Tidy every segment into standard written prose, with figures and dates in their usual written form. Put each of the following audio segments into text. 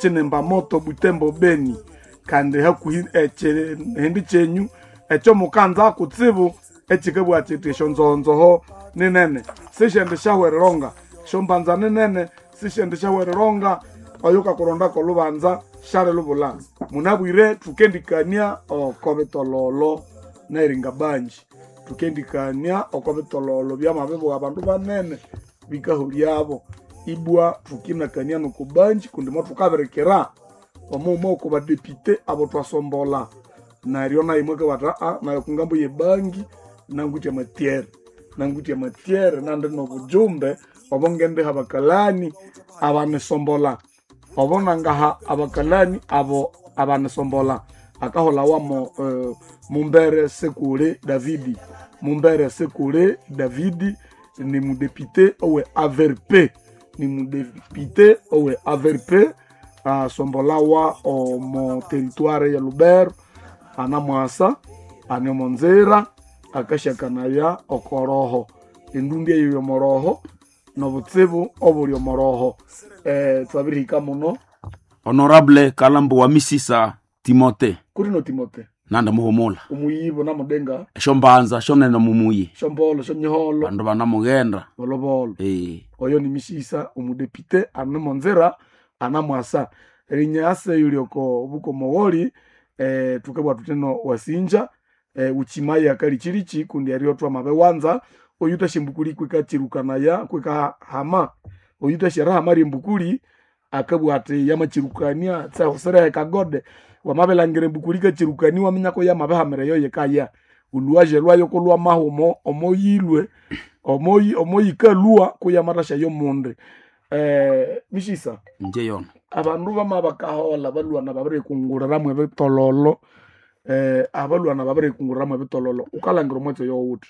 Chinemba moto Butembo Beni kandi hakuhi ekihindi kyenyu ekyo mukanza kutsibu ekikabugha kiti esyonzohonzoho ninene sisyendi syahwereronga, esyombanza ninene sisyendi syahwereronga, oyo kakurondako olubanza syalilubulha. Munabwire thukendikania oko bitololo neringa banji, thukendikania oko bitololo byamabibugha abandu banene bikahulyabo ibwa thukinakania noko banji kundi mothukabirikira omughuma oko badepite abo thwasombolha neryo nayo mwakabugha athi nayo kungambo yebangi nangwithe amatyere, nangwithe amatyere nandi nobujumbe obo ngendiha abakalani abanisombolha obo nangaha abakalani abo abanisombolha akaholawamo Mumbere Sekule Davidi. Mumbere Sekule Davidi ni mudepite owe AVRP, ni mudepite owe AVRP asombolawa omo territoire ya Lubero anamwasa ane omo nzira akasyakanaya okoroho endundi eyo yomoroho nobutsibu obuli omoroho. Twabirihika muno. Honorable Kalambo wa Misisa Timote. Kuri Timote nanda muhumula omuyibo namudenga esyombanza syonene mumuyi syombolo syonyiholo bandu banamughenda bolobolo. Eh. Oyo ni Misisa omudepite ane omonzira anamwasa erinyasa eyuli oko bukomogholi thukabugha thuthi ino wasinja uchimaye akalichilichi kundi eryo thwamabiwanza oyuthasya embukuli kwikachirukanaya kwikahama oyuthasya erihama ryembukuli akabugha athi yamakyirukania tsirehe kagode wamabilhangira embukuli ikachirukania iwaminya yamabihamira eyo yikaya olhuwaje lwayo kulwamaha omo omoyilwe omoyikalhwa kuyamathasya yomundi. Misisa Inje yono abandu bamabakaholha balhwana babirikunguliramu ebitololo, abalhwana babirikunguliramu ebitololo wukalhangira omwatsi oyo wuthi?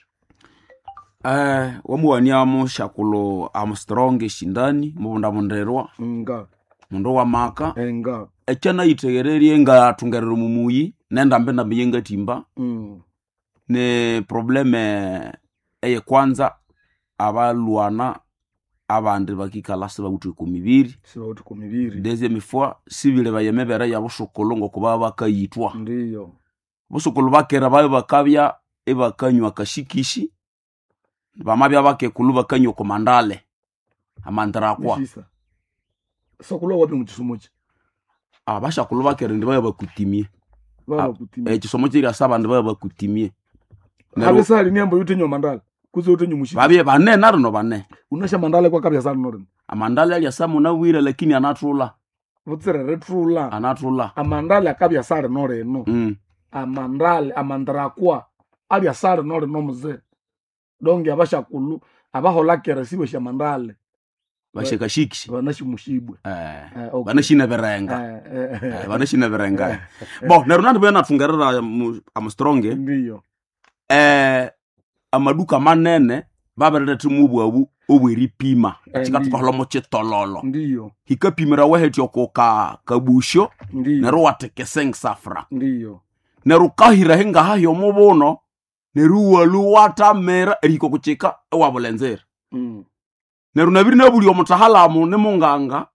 Wamuwania musyakulhu Armstrong Shindani mubundabundirwa Nga mundu wamaka nga ekyanayitheghererye ngathungerera omumuyi nendambindambi eyengathimba ni probleme eyekwanza abalhwana abandi bakikalha sibawithe oko mibiri. Sibawithe oko mibiri. Deuxième fois sibilebaya emibere yabusukulhu ngokubabya bakayithwa. Ndiyo. Busukulhu bakera babya bakabya ibakanywa akashikisi bamabya bakekulhu bakanywa oko mandale amandirakwa. Misisa sokulhu wapi mukyisomo kyi? Abasyakulhu bakera indi babya bakutimie. Babakutimie. Ekyisomo kyiryasa abandi babya bakutimie. Habe sali niambo yuthenywa mandale kutse yuthenywa mushikisi. Babye bane narino bane. Wunasya mandale kwakabya sali norino? Amandale alyasa munabwire lakini anathulha. Butsira erithulha. Anathulha. Amandale akabya sali norino. Amandale amandirakwa abya sali norino muzee. Donge abasyakulhu abaholha kera sibasya amandale. Basya kashikisi. Banasya omushibwe. Okay. Banasine birenga. Banasine birenga. Bo neryo nandibya nathungerera Armstrong. Ndiyo. Amaduka manene babiriletha mubwabu obweripima kikathukaholha mokyitololo. Ndiyo. Hikapimirawa hethya oko kabusyo Ndiyo. neryo iwatheka esensafra. Ndiyo. Neryo wukahira hingaha hyomubuno neryo iwalhwa iwathamira erihika oko kyika iwabulha enzira. Neryo nabiri nabulya omutahalamu nimunganga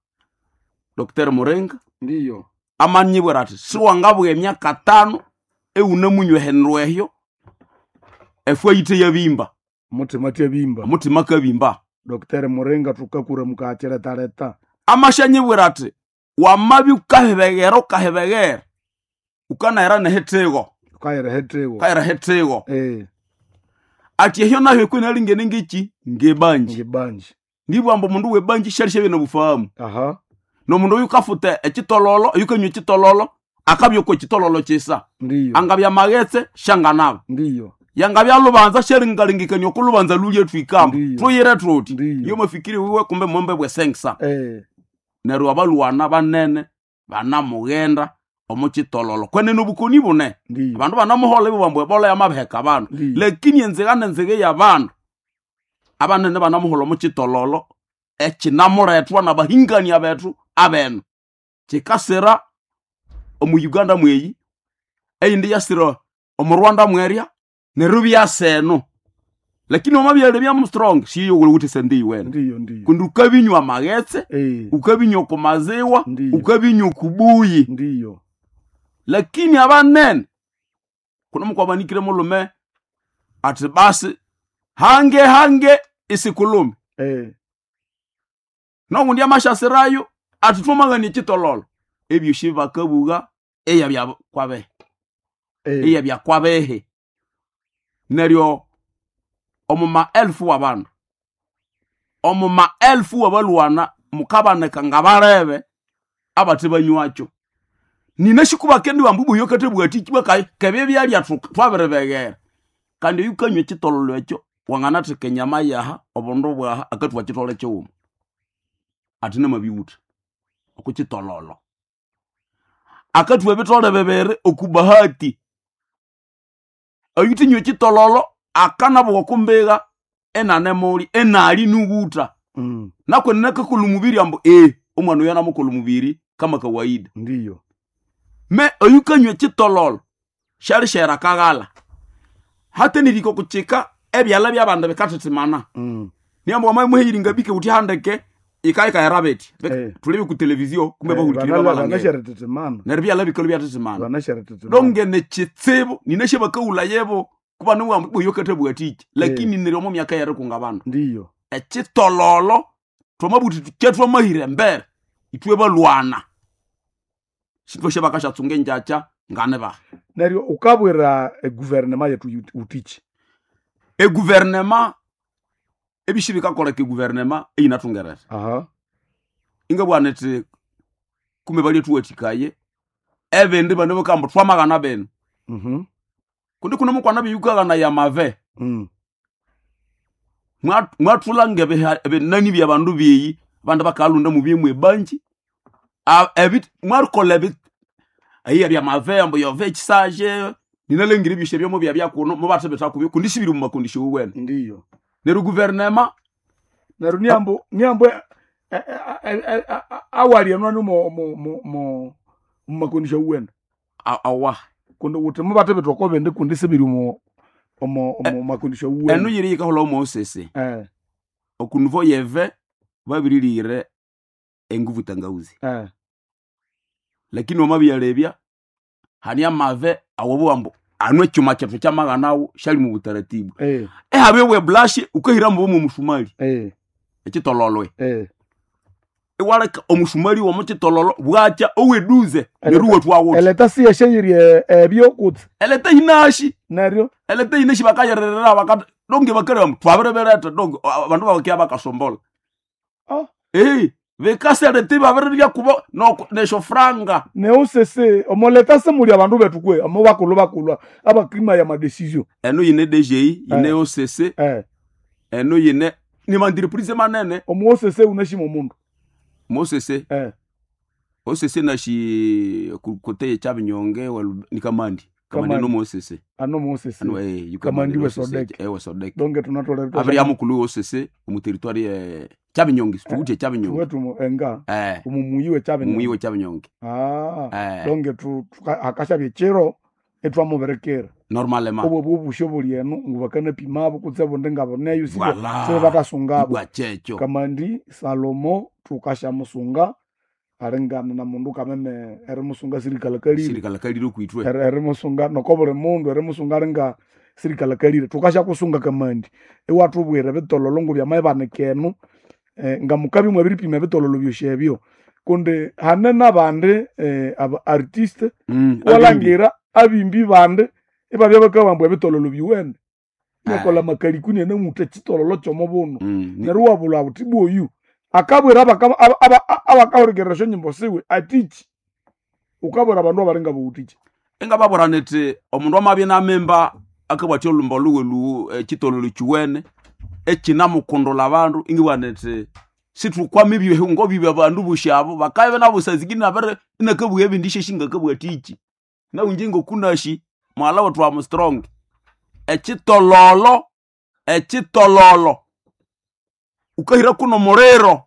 Dr. Muringa. Ndiyo. Amanyibwira athi siwangabugha emyaka tano iwunamunywa ehindu ehyo efwa yithe yabimba. Omuthima athya-bimba. Omuthima akabimba. Dr. Muringa thukakura mukakyirethaletha. Amasyanyibwira athi wamabya wukahibeghera wukahibeghera wukanahera nehithigo. Wukahera ehithigo. Wukahera ehithigo. Athi ehyo nayo kwinalingene ngekyi ngebanji. Ngebanji. Nibugha ambu omundu webanji syalisyabya nobufahamu. Aha. Nomundu oyukafutha ekyitololo oyukanywa ekyitololo akabya oko kyitololo kyisa. Ndiyo. Angabya maghetse syanganaba. Ndiyo. Yangabya lubanza syalingalengekania oko lubanza lulye thwikamba. Ndiyo. Thuyire thuthi. Ndiyo. Iyo mafikiri wiwe kumbe mwembe bwesengisa. Neryo abalhwana banene banamughenda omo kyitololo kwenene obukoni bune. Ndiyo. Abandu banamuholha ibabugha ambu ebola yamabiheka abandu. Ndiyo. Lakini enzigha nenzigha eyabandu abanene banamuholha omo kyitololo ekyinamulethwa nabahingania bethu abenu. Kyikasira omu Uganda mweyi eyindi iyasira omu Rwanda mwerya neryo ibyasa eno. Lakini wamabyalya bya strong siyo wuli sente iwene. Ndiyo ndiyo. Kundi ukabinywa amaghetse, ukabinywa ku maziwa, Ndiyo. ukabinywa ku buyi. Ndiyo. Lakini abanene kuno mukwabanikire mulume ati basi hange hange isikulume. Nogundi amashasirayo ati twamagana ekitololo. Ebyosi bakabuga eya bya kwabehe. Eya bya kwabehe. Neryo omu maelfu w'abandu, omu maelfu w'abalwana mukabaneka nga barebe abate banywakyo. Nina shikubake ndiwamba obuyo kathabwati bakayi kebye byalya twabiribeghera. Kandi oyu kanywa ekitololo ekyo wanganatheka enyama yaha obundu bwaha akathuwa kitole kighuma. Ati namabiwutha oku kitololo. Akathuwa ebithole bibiri oku bahati. Oyuthinywa ekitololo akanabuwa oku mbiga inanemulya inali niwutha. Nakwenene akakolha omubiri ambu omwana oyu anamukolha omubiri kama kawaida. Ndiyo. Me oyukanywa ekitololo syalishera akaghala. Hate nerihika okukyika ebyalha by'abandu bikathithimana. Niambu wamamuheyiringa bike wuthi handeke yikayikayira bithi. Thulebe ku televizio kumbe bahulikirire bamalhangira. Banasharithitimana. Neryo ebyalha bikalhwa ibyathithimana. Banasharithitimana. Donge nekitsibu ninasya bakawulayebo kuba niwamba oyo kathabwathiki. Lakini neryo omo myaka yerikunga abandu. Ndiyo. Ekitololo twamabuthi thukye twamahira embere ithwe balwana. Sithwasya bakasyatsunga engyakya nganibaha. Neryo ukabwira eguverinema yethu utiki. Eguverinema ebisi bikakoleka eguverinema eyinathungerera. Ingabugha nithi kumbe balyathuwathikaye ebindi bano bakamba twamaghana bino. Kundi kuno mukwana biyukaghanaya amave. Mwathulanga ebinani byabandu beyi abandu bakalhunda mubyemu ebanji. Mwarikolha eyiya byamave ambu yove ekisaje ninalhangira ebyosi ebyo mubyabya kuno mubathibitha kubyo kundi sibiri omu makondisyo owene. Ndiyo. Neryo guverinema Neryo niambu niambu awali eno mo mo mo mo makondisyo owene. Awa. Kundi wuthi mubathibitha oko bindi kundi sibiri omo omo omo makondisyo owene. Eno yiri yikaholha omo osese. Okunivo yeve babirilire enguvu tangauzi. Lakini wamabyalebya hali amave awobo ambu anu ekyuma kyethu kyamaghanawo syali mu butaratibu. Ehabya obwe brush ukahira mbu omu musumali. Ekitololwe. Iwaleka omusumali womu kitololo bwakya oweduze neryo iwathwawutha. Eleta siyashayiri ebyo kutse. Eleta yinashi. Neryo Eleta yinashi bakayererera bakata donge bakaleba mbu twabiribiretha donge abandu babakya bakasombola. Bikaseleta ibabirirya kubo nesyo franga. Neusese omoleta simuli abandu bethu kwe omo bakulhu bakulhu abakima ya madecision. Eno yine DGI, yine OCC, eno yine ni mantreprise manene. Omo OCC unashima omundu. Mo OCC. OCC nashi kote kyabinyonge ni Kamandi. Kamandi no mo OCC. Ano mo OCC. Ano yuka Kamandi Kamandi we OCC, Sodek. We Sodek. Donge tunatolera Abiri amukulu OCC omu territoire ye Kyabinyonge, tuwuthe Kyabinyonge. Wetu enga. Omumuyi we Kyabinyonge. Mumuyi we Kyabinyonge. Donge tu akashabye chiro etwamuberekera. Normalement. Obwo bwobusyo buli eno ngu bakanapimabo kutse bundi ngaboneyo sibe Voilà. sibe batasungabo. Ibwa kyekyo. Kamandi Salomo tukashamusunga alingana na mundu kameme erimusunga sirikalakalire. Sirikalakalire okwithwe. Erimusunga noko buli mundu erimusunga alinga sirikalakalire. Tukashakusunga Kamandi. Iwathubwira ebitololo ngu byamayibanika eno nga mukabya mwabiripima ebitololo byosi ebyo. Kundi hane n'abandi aba artiste walangira abimbi bandi ibabya bakabamba ebitololo biwene. Nakola makalikuni enamutha ekitololo kyomubuno. Neryo iwabulha buthi bwoyu akabwira abakahurikerera esyonyimbo siwe atiki. Ukabwira abandu abalinga bawuthiki. Ingababwira nithi omundu amabya inamimba akabwathya olhumba lhuwe lhuwu ekitololo kiwene ekinamukundula abandu ingibugha nithi sithukwama ebyehungo bibi abandu bosi abo bakabya nabo sazingine inabiri inakabugha ebindi isyashingakabwathiki. Nawu inje ngokunasi mughalha wethu wa strong ekitololo ekitololo ukahira kuno muliro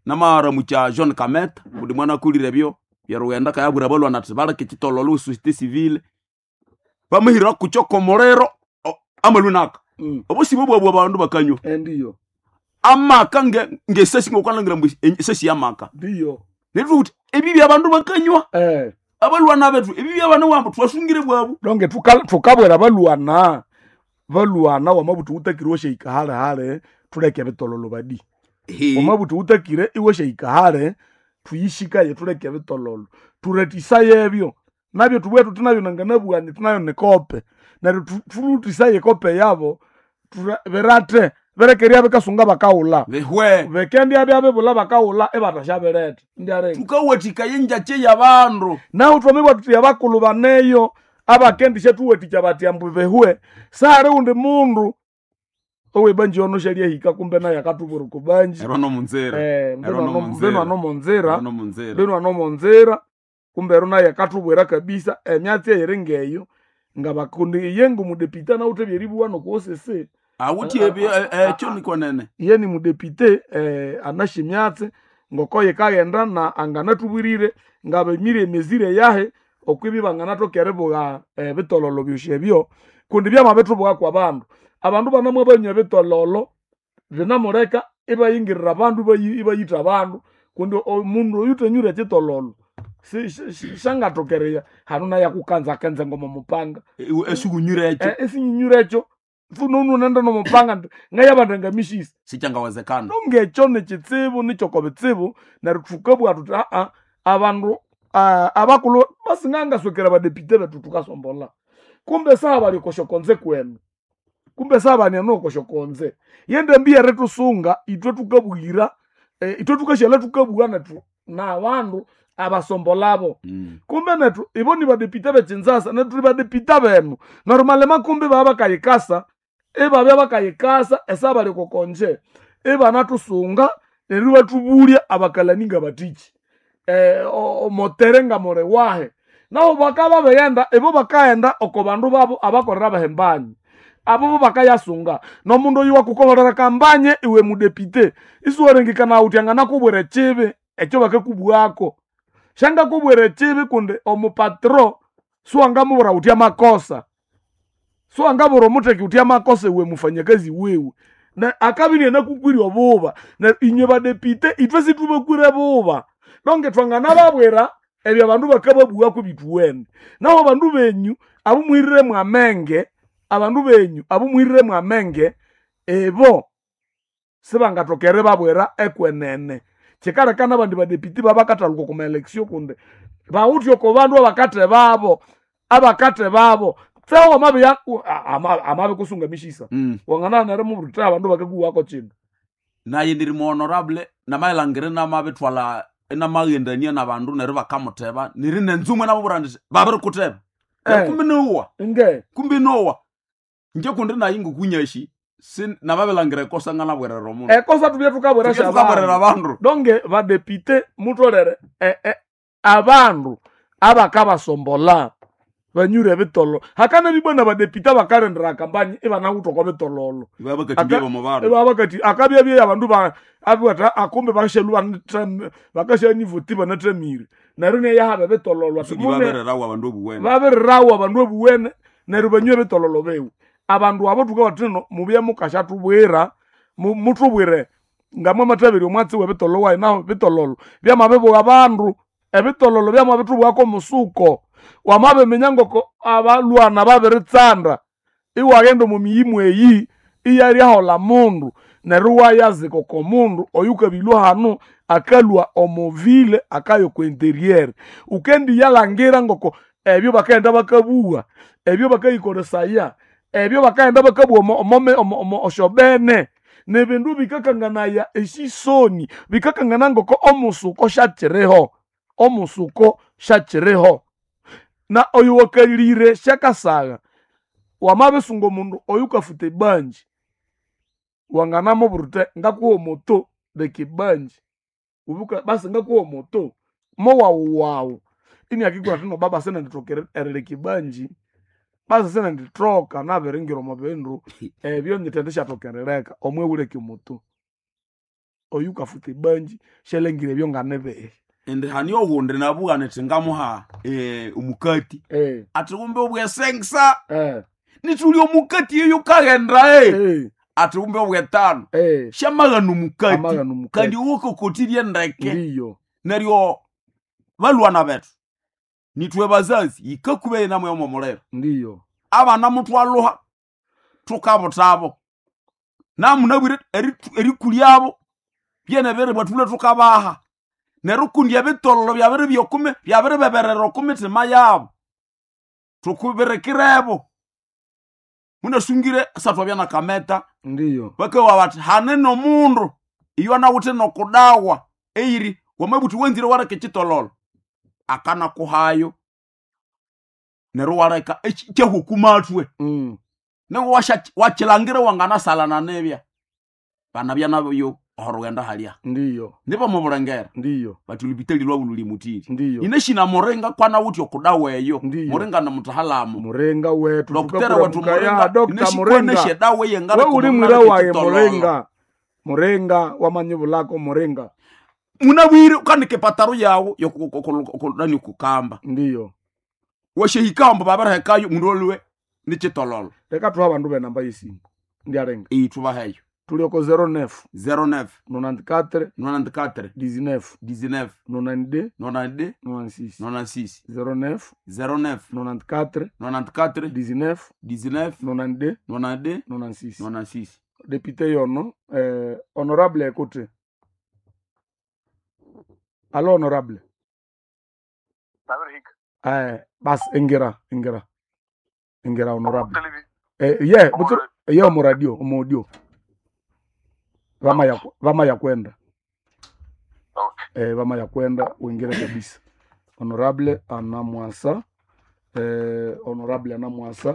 namaramukya John Kameta kundi mwanakulire ebyo byerughenda akayabwira abalwana athi baleke ekitololo société civile bamahira kukyo komuliro amalhu naka. Obusibo bwabwe abandu bakanywa. Ndiyo. Amaka ngesesi ngokukalangira mbu esesi yamaka. Ndiyo. Neryo uthi ebibi abandu bakanywa. Abalwana bethu ebibi abana wambu twasungire bwabu. Donge tukabwera balwana. Balwana wamabuthi utakire washahika hale hale tuleke bitololo badi. Wamabuthi utakire iwashahika hale tuyishikaye tuleke bitololo. Turetisaye ebyo. Nabyo tubwe tutinabyo nanganabwani tunayo nikope. Neryo tulutisaye kope yabo birate berekeria bikasunga bakaula. Bihwe. Bekendi abya bebula bakaula ebatashaberete. Ndiarenga. Tukawathika yenjache yabandu. Naho twamibwa tuti abakulu baneyo abakendisha tuwathikya bati ambu behwe. Sare undi mundu owebanji ono shalyahika kumbe naye akatubura kubanji. Ero no munzira. Ero no munzira. Mbeno ano munzira. Ero no munzira. Mbeno ano munzira. Kumbe ero naye akatubwera kabisa emyatsi eyiri ngeyo ngabakundi iye ngumudepite nawuthe byeribuwa nokuosese. Awuthi ebi ekyo nikonene. Iye ni mudepite anashe emyatsi ngoko yikaghenda na anganatubwirire ngabemire emezire yahe okwibi banganathoka eribugha ebitololo byosi ebyo kundi byamabithubuka kwa bandu. Abandu banamwe banywa ebitololo binamuleka ibayingirira abandu ibayitha abandu kundi omundu oyuthanyure ekitololo shangathokereya hanu naye akukanzakanza ngoma mupanga. Esikunyure ekyo. Esinyinyure ekyo fununu nenda nomupanga nti ngayabanda ngamishisa. Sikyangawezekana. Nongekyo nikitsibu nikyoko bitsibu neryo thukabugha thuthi aa abandu abakulhu basingangaswekera badepite bethu thukasombola. Kumbe saha bali okosyokonze kwenu. Kumbe saha bali eno okosyokonze. Yendambi erithusunga ithwe thukabuyira ithwe thukashyalha thukabugha nethu nabandu abasombolabo. Kumbe nethu ibo ni badepite bekinzasa nethu thuli badepite benu. Neryo malima kumbe baba bakayikasa ibabya bakayikasa esaha bali okokonje ibanathusunga neryo ibathubulya abakalani ngabathiki. Omotere ngamuli wahi. Nabo bakaba baghenda ibo bakaghenda oko bandu babo abakolera bahembanyi. Abo bo bakayasunga. Nomundu oyu wakukolera kambanye iwe mudepite isiwarengekana wuthi anganakubwira ekibi ekyo bakakubwako. Syangakubwira ekibi kundi omupatro siwangamubwira wuthi amakosa. Siwangabwira omutheki wuthi amakosa iwe mufanyakazi wiwe. Na akabya inanakukwire obuba. Na inywe badepite ithwe sithubakwire buba. Donge thwanganababwira ebyo abandu bakababughaku bithuwene. Naho abandu benyu abumuhiriremu amenge, abandu benyu abumuhiriremu amenge ebo sibangathoka eribabwira ekwenene. Kyikaleka abandi badepite babakathaluka okwa ma-election kundi bawithe oko bandu abakathe babo, abakathe babo. Tseho wamabya amabikusunga emishisa. Wanganabana nerimubwira wuthi abandu bakakuwako kino. Naye ndiri mu honorable namalhangira inamabithwalha inamaghendania nabandu neryo bakamutheba neri nenzumwe nababwira indi babirikutheba. Kumbe nowa. Nge. Kumbe nowa. Inje kundi naye ngokunyashi namabilhangira ekosa nganabwerera omundu. Ekosa thubye thukabwera Thubye thukabwerera abandu. Donge badepite mutholere abandu abakabasombola banyure ebitololo. Hakana bibwana badepite abakalendera kampanyi ibanawithe oko bitololo. Ibabakathibya omu bandu. Ibabakathi akabya abandu abiwatha akumbe bakashalwa bakashanivoti banathamire. Neryo neyahaba ebitololo ati Suki babirirawo abandu obuwene. Babirirawo abandu obuwene neryo banywe ebitololo biwe. Abandu abo thukabathi thino mubye mukasyathubwira muthubwire ngamwamathabirya omwatsi w'ebitololo wayi naho bitololo byamabibugha abandu. Ebitololo byamabithubughako omusuko. Wamabiminya ngoko abalwana babiritsanda iwaghenda omo miyimu eyi iyalyaholha mundu neryo iwayazika oko mundu oyukabilwa hanu akalhwa omo ville akaya oko interior. Wukendiyalhangira ngoko ebyo bakaghenda bakabugha, ebyo bakayikolesaya, ebyo bakaghenda bakabugha omo syobene nibindu bikakanganaya esisoni, bikakangana ngoko omusuko syakyiriho, omusuko syakyiriho. Na oyo wakalire syakasagha wamabisunga omundu oyukafuta ebanji wanganamubwira wuthi ngakuha omoto leka ebanji basi ngakuha omoto mowaghuwaghu iniakikubwira athi no baba sinendithoka erileka ebanji basi sinendithoka nabiringira omo bindu ebyo nyithendishathoka erileka omwe wuleke omoto. Oyukafuta ebanji syalhangira ebyo nganibihi. Indi hani oghundi nabugha nithi ngamuha omukati. Athi kumbe obwesengisa. Nituli omukati eyo kaghenda e. Eh, Ati umbe obwetano. eh, Syamaghana omukati. amaghana omukati. Kandi uwokokotirye ndeke. Ndiyo. Neryo balwana bethu. Nitwe bazazi yikakube namwe omo muliro. Ndiyo. Abana mutwaluha tukabutabo. Namunabwire erikulyabo byene biribwa thule tukabaha. Neryo kundi ebitololo byabiri byokumi byabiribeberera oku mitima yabo. Tukubirikirebo. Munasungire satwabya na kameta Ndiyo. bakawa bati hane nomundu iyo anawithe nokudawa eiri wamabuthi wanzire waleka ekitololo akanakuhayo neryo waleka kyahukumathwe Mm. nengo wakilangira wanganasalana nibya banabya nabyo orughenda halya Ndiyo. nibo mubulengera Ndiyo. bati olupitali lwabu luli mutiri Ndiyo. ineshina muringa kwanawuthi okudawa eyo Ndiyo. muringa namutahalamu Murenga wetu dokitera wetu tukakuramuka ya muringa Dr. Murenga. ineshikwanesha edawa We uli mwira waye Murenga. Murenga wamanyibulako Murenga. Munabwire ukanika epataro yawu yokunani kukamba Ndiyo. washehikamba babirihekayo mundu olwe nichitololo Leka tuha abandu benamba yesimu. Ndiarenga. iyithubaheyo Tulioko 09 09 94 94 19 19 92 92 96. 96 09 09 94 94 19 19 92 92 96. 96 Député yono honorable écoute. Allo honorable. Nabirihika. Bas ingira ingira. Ingira honorable. Televi- Ye Omo butu ye omu radio omu audio. Vama ya vama ya kwenda. Okay. Vama ya kwenda uingire kabisa. Honorable anamwasa honorable anamwasa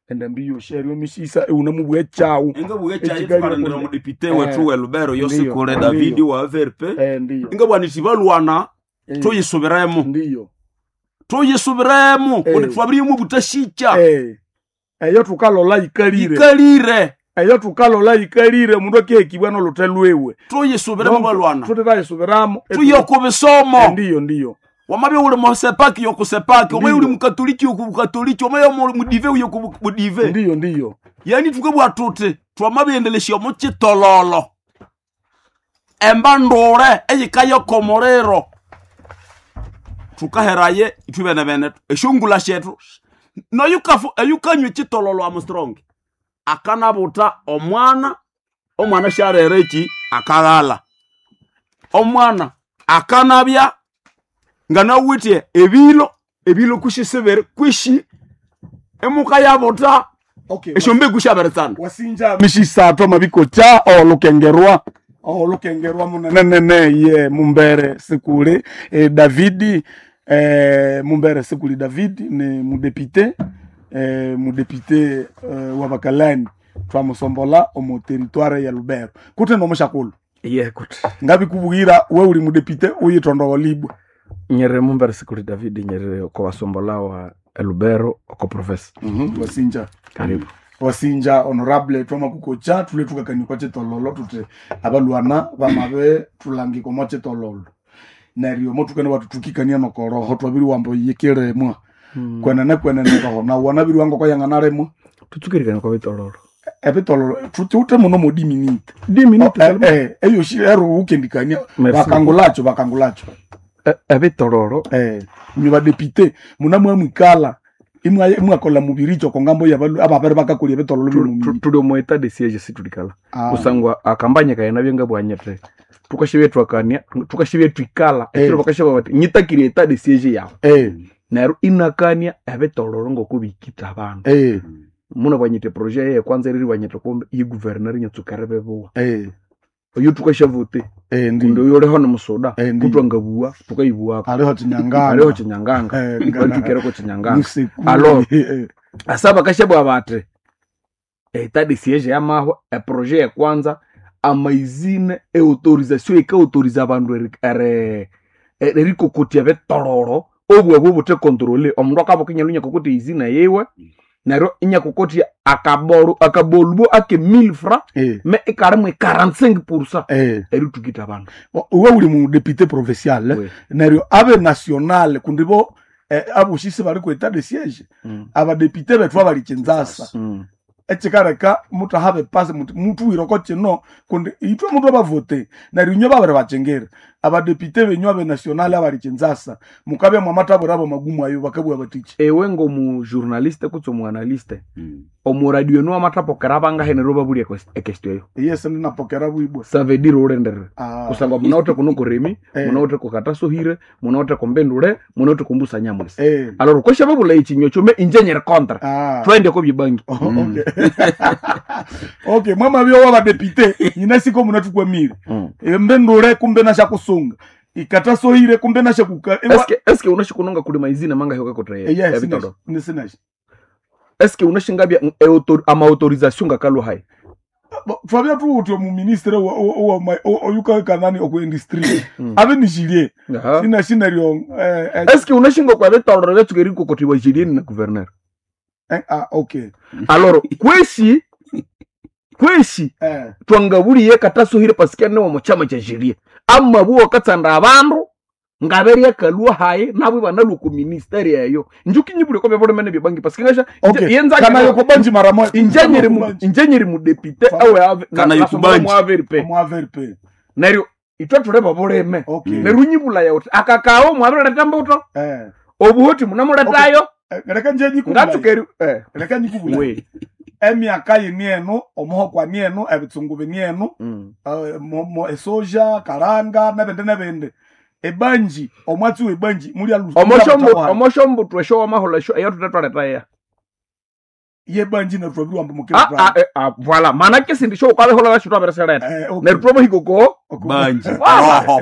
endambi yosherio misisa euna mubwe chau. ingabugha Ekigali ekyayikarindira kunde. omudepite wethu welubero Ndiyo, yosikule ndiyo. Davidi wa VRP Ndiyo. ingabwanisi balwana tuyisubiremo Ndiyo. tuyisubiremo kundi twabiriyemo obutashicha Eyo tukalola ikalire. ikalire Eyo tukalola ikalire omundu akihekibwa n'oluthe lwiwe. tuyisubiremo balwana Tutitayisubiramo. tuye ku bisomo Ndiyo ndiyo. wamabya uli musepaki yokusepaki wamabya uli Ndiyo. mukatoliki yokubukatoliki wamabya uli mudive yokubudive Ndiyo ndiyo. yani tukabwa tuti twamabyendelesya omuchitololo emba ndule eyikayoko omuliro tukaheraye ithwe bene esyongula syethu noyukafu eyukanywa echitololo Armstrong akanabuta omwana omwana syarera eki akaghala omwana akanabya nganawithe ebilo ebilo kusisibiri kwishi emuka yabuta Okay. esyombegu syabiritsana Wasinja mishisato mabikocha olukengerwa olukengerwa munenenene ye mumbere sikuli Davidi mumbere sikuli Davidi ni mudepite mudepite wa bakalani twamusombola omu territoire ya Lubero kute nomushakulu Ye kuti ngabikubwira we uli mudepite uyitondowo libwe nyerere mumbere sikuli David nyerere ko basombola wa Lubero oko professor. Wasinja Karibu. wasinja honorable twamakukocha tule tukakanyikwa chitololo tuti abalwana bamabe tulangika omo chitololo neryo motukane watu tukikania nokoroho twabiri wambo yikiremwa kwenene kwenene roho na wanabiri wango koyang'analemwa Tutsukirikana kwa bitololo. ebitololo tuti ute muno modiminite Diminute eyoshi ero ukendikania Merci. bakangulacho bakangulacho Ebitololo inywe badepite munamwamwikala imwakola mubiricho kongambo yabalu ababere bakakolya ebitololo bino tuli omu etat de siege situlikala. Ah. Kusangwa akambanya kayana byenga bwanyete. Tukashibye twakania, tukashibye twikala. Ekiro bakashaba bati nyitakire etat de siege yawe. Neryo inakania ebitololo ngokubikita abandu. Muna bwanyite projet yeye kwanza eriri bwanyite kumbe iyi gouverneur nyatsukere bebuwa. Oyo tukashavute kundi ndi oyo uliho ni musoda Ndi. kutwangabuwa tukayibuwako aliho chinyanganga aliho chinyanganga batukireko chinyanganga Musekuli. Alo. Asa bakashabwa bati etat de siege yamahwa eprojet ekwanza amaizine eautorisation ekautoriza abandu erikokotia bitololo obwabwo butekontrole omundu akabuka inyalu inyakokotia izina yiwe neryo inyakokotia akabolu akabolbo ake 1000 francs me ikarimu 45% eritukita abandu Uwe uli mu député provincial Oui. neryo abe national kundi bo Aboshisi bali ku etat de siège. Abadepite bethu abali Kinshasa. Ekikaleka muthahabe pasi muthi muthuwireko kino kundi ithwe muthu abavote neryo inywe babiri bakyingira abadepite benyu abe national abali Kinshasa mukabya mwamathabwira abo magumu ayo bakabugha bathiki. Ewe ngomujournaliste kutse omuanalyste omuradio enu wamathapokera abangahe neryo babulya ekestio eyo. Yes, ndinapokera bwibwa. Ça veut dire ulenderere. Ah. Kusangwa munawithe kuno kurimi, munawithe kukatasohire, munawithe kumbindule, munawithe kumbusa nyamwisi. Alors kwesha babula ekinywa kyome inje nyiri kontra. Twende ko byebangi. Oh, okay. Okay, mwamabya wabadepite nyina siko munathukwamire. Mbendule kumbe nashakusunga ikatasohire kumbe nashakuka. Eske unashikunonga kulima izina manga hiyo kakotre Yes, ebitondo. nisinashi. Eske unashingabya ama autorisation ngakalwa hai. Twabya thuwuthi omuministre oyukakanani oku industry abe nishilie sinashineryo. Eske unashinga kwa bitoro byatsuka kokotiwa jilieni na gouverneur. Ah, okay. Alors kweshi twangabuliye katasohire paske ne omu chama cha jilie amabuo katsanda abandu ngaberya kalwa haye nabo banalwa ku ministeri eyo njuki nyibule ko byabolemene byebangi paske ngasha Okay. yenza Kana yokubanji mara moja. injenyeri mu député awe ave Kana yokubanji. mu AVRP Mu AVRP. neryo itwe tuleba buleme Okay. neryo nyibula yawe akakao mwabireta mbuto obuhoti munamuletayo. Leka nje nyikubula. Ngatsukeri Leka nyikubula. We. Emyaka yini eno omuhokwa ni eno ebitsungu bini eno esoja karanga nebindi nebindi ebanji omwatsi webanji muli Omoshombutu esho wamahola esho eyo tutetwaletaya yebanji neryo wamba mukira. Voilà manake sindi sho ukabehola basho twabereseleta neryo twabahikoko banji roho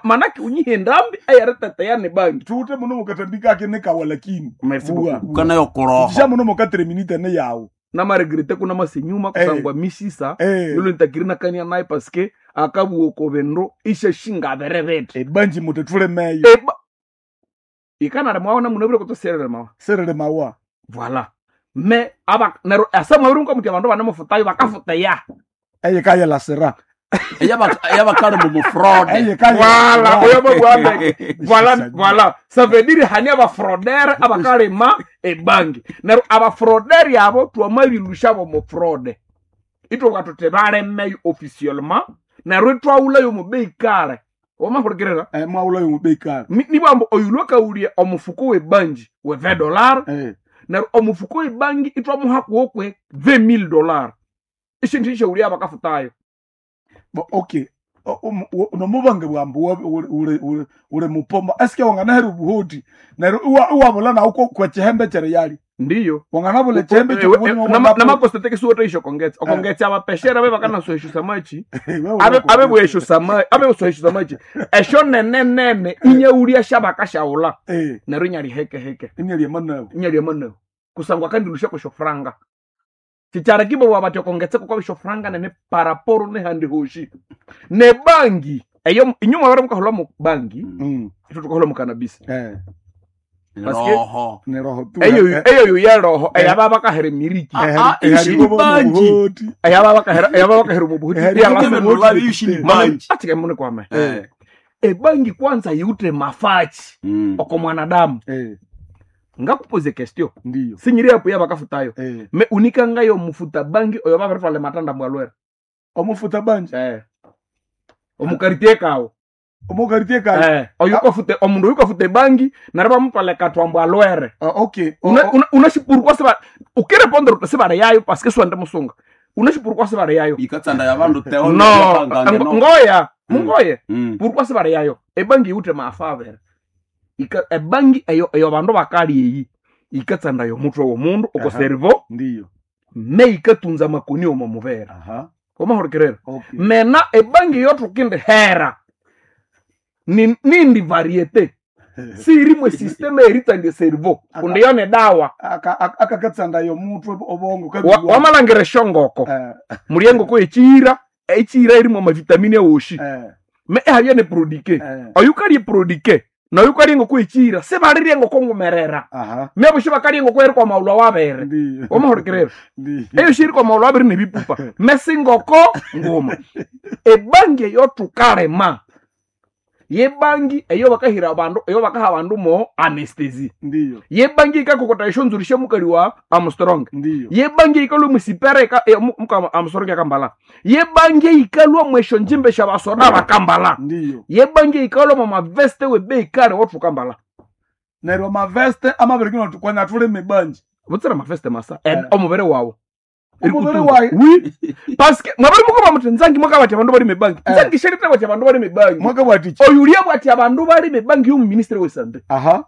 manake unyihe ndambi eyareteteya ne bangi tuute muno mukatambika ake nekawa lakini Merci beaucoup. Kana yokoroho sha muno mukatire minute ne yawo namaregrete kuna masenyuma kusangwa misisa yulo ntakiri nakania naye paske akabuoko bendo ishe shingaberebete ebanji mutetulemeyo ikanare mwaona munabire kutoserere mawa serere mawa voilà me aba nero asa mwabiri mukamuti abandu banemufutayo bakafuteya eyekaya lasera eyabakali mumufraude. Voilà, oyo babwambe. Voilà, voilà. Ça veut dire hani abafraudere abakalima ebangi. Nero abafraudere abo twamabilusha bo mu fraude. Itwoka tuti balemeyo officiellement nero itwawulayo mu bei kale. Wamahurikirira? Mwawulayo mu bei kale. Nibambo oyulwa kaulia omufuko webangi we $20. Nero omufuko webangi itwamuha kuokwe $20,000. Ishintu ishaulia abakafutayo. Okay. Nomubange bwambu ule mupomba eske wanganahera obuhoti neryo iwabula nawu kwekihembe kyeriyali ndiyo wanganabula ekihembe namakostetekesiwota isho kongetsa okongetsa abapeshera be bakanasohesha samachi abe bwesho samachi abe sohesha samachi esho nene nene inyaulia shabakashaula neryo inyali heke heke inyali emanabu inyali emanabu kusangwa kandilusha kwesho franga chichara kibo wabati okongetseko kwa bisho franga nene paraporo ne handi hoshi ne bangi eyo inyuma bara mukahola mu bangi itwo tukahola mu cannabis roho ne roho tu eyo eyo yo ya roho eyaba bakahera miriki bangi eyaba bakahera eyaba bakahera mu buhuti bangi atike mune kwame ebangi kwanza yute mafachi oko mwanadamu ngakupoze question ndiyo sinyiri apo yabakafutayo me unikangayo mufuta bangi oyo babaritwale matanda mwalwera omufuta bangi omukartie kawo omukartie kawo oyo ukafute omundu oyo ukafute bangi nari bamutwale katwambo alwere okay unashipurukwa siba ukirepondera uti sibare yayo paske siwende musunga unashipurukwa sibare yayo ikatsanda ya bandu teo no ngoya mungoye purukwa sibare yayo ebangi yute maafavere ebangi eyo eyo bandu bakali eyi ikatsanda yo mutwe womundu oko cerveau ndiyo me ikatunza makoni omo mubere omahurikerera mena ebangi yotukindi hera nindi variete sirimwe systeme eritandie cerveau kundi yo ne dawa akakatsanda yo mutwe obongo wamalangira eshongoko muri engoko echiira echiira irimwe amavitamini ewoshi me ehabya ne prodike oyu kalye prodike noyu kalye engoko echiira sibalirya engoko ngumerera mebusho bakalya engoko eri kwa maulwa wabere wamahurikerera eyo shiri kwa maulwa wabere nebipupa mesingoko nguma ebangi eyo tukalema Yebangi eyo bakahira abandu, eyo bakaha abandu mo anestesi. Ndiyo. Yebangi ikakokota eshonzuri syomukali wa Armstrong. Ndiyo. Yebangi ikalwa musipere muka Armstrong akambala. Yebangi ikalwa mwesho njimbe syabasoda bakambala. Ndiyo. Yebangi ikalwa mu maveste webei kale wothu kambala. Neryo amaveste amabirikino tukwanya tuli mibanji. Butsira maveste masa omubere wawo. Omubere wayi. Oui. Parce que mwabari muko bamuti nzangi mwaka bati abandu bali mibangi. Nzangi sherite bati abandu bali mibangi. Mwaka bwati. Oyulia bwati abandu bali mibangi yomu ministre we sante. Aha.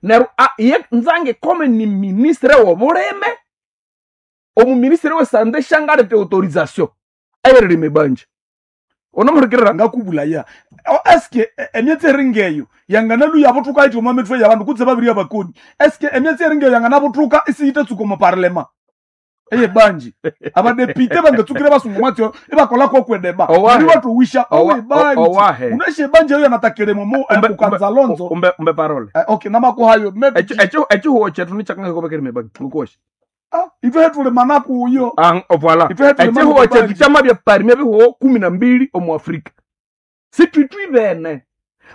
Neryo ye nzangi kome ni ministre wobulime. Omu ministre we sante shangalete autorisation. Ayerere mibangi. Onomurikirira ngakubula ya. Eske emyatsi eringeyo yanganalu yabutuka iti omu mitwe yabandu kutse babiri abakoni. Eske emyatsi eringeyo yanganabutuka isiyite mu parlema. Eye banji abadepite bangatsukire basungu mwatyo ibakola kokwedeba Owahe. ni watu wisha owe banji Owahe. uneshe banji eyo yanatakire momo kukanza lonzo. Umbe parole. Okay, namakuhayo maybe Echo echo chetu ni chakanga kobekere mibangi. Ngukosha. Itwe hetule manaku uyo. Voilà. Itwe hetule Echihuo manaku chetu banji. chama bya parmi bihuo 12 omu Afrika. Situtwibene.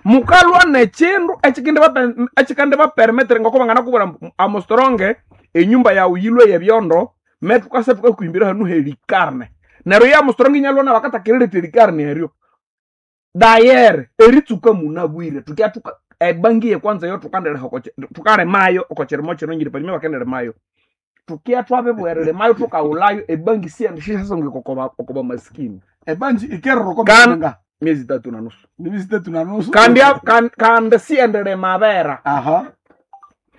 Mukalwa nechindu echikende bapermetre ngoko bangana kubura Armstrong enyumba yawe yilwe yebyondo metukase tukakuimbira hanu helikarne. Neryo ya Armstrong inyalwa na bakatakirire likarne eryo. Dayer eritsuka munabwire tukyatuka ebangi ye kwanza yo tukandere hokoche tukare mayo okocheremo chino ngiri parmi bakendere mayo tukia twabebwerere mayo tukaulayo ebangi siyandishishasonge kokoba okoba maskini Ebanji ikerro kwa mwenga. Miezi 3.5. Miezi 3.5. Kandi kandi siyendere mabera. Aha.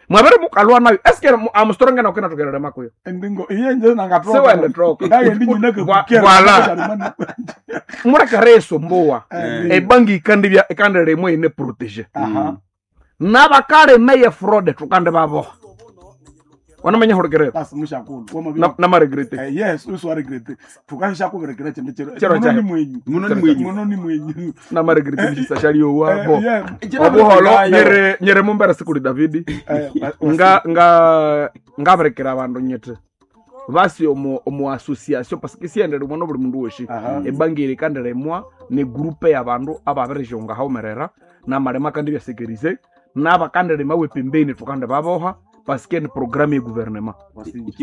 Mwabere mukalwa nayo eske Armstrong na okena tukerere makuyo. Endingo iye nje nangatoka. Sewende troka. Ngaye ndi nyina kukera. Voilà. Murakareso mbowa. Ebangi ikandi bya ikandere imwe ine protéger. Aha. Nabakale meye fraude tukande babo. Wanamanya hurekerera. Basi mushakulu. Na maregrete. Yes, usu waregrete. Tukasha kuberekera chende chero. Chero Muno ni chahe. mwenyu. Muno ni mwenyu. Muno ni mwenyu. Na maregrete mishishashaliyo wabo. Yeah. Obuholo nyere nyere mumbera sikuli Davidi. Nga nga ngaberekera abandu nyete. Basi omu omu association parce que siendere mwana buli mundu woshi. Ebangi eri kandere mwa ni groupe y'abandu ababerejonga haumerera namalema kandi bya sécuriser n'abakandere mawe pembeni tukande baboha parce que ni programme ya gouvernement.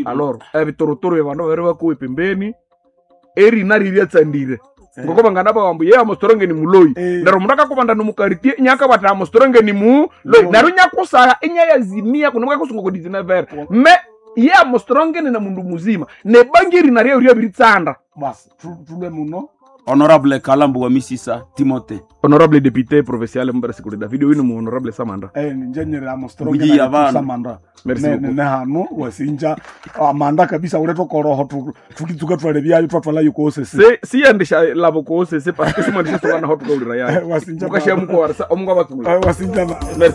Alors ebitorotoro bya bandu babere bakuwe pembeni eri nari ryatsandire ngoko bangana bawambu ye Armstrong ni muloi neryo mundu akakubanda nomukartie inyakabata Armstrong ni muloi neryo inyakusaha inyayazimia kuno mukakusunga ku 19 me ye Armstrong ni na mundu muzima nebangi eri naryo ryabiritsanda. Basi tulwe muno. Honorable Kalambu wa Misisa Timothée. Honorable député provincial Mbere Sikuli David uyu ni mu honorable Samanda. Njenyere Armstrong Buji na abantu. Samanda. Merci Ne beaucoup. ne hanu wasinja amanda kabisa uletwa koroho tukitsuka twale byayo twatwala yukose Se siyandisha labo kose se parce que simandisha sokana ho tukaulira yayo. Wasinja Mukashia muko warsa omungwa batula. Wasinja. Merci.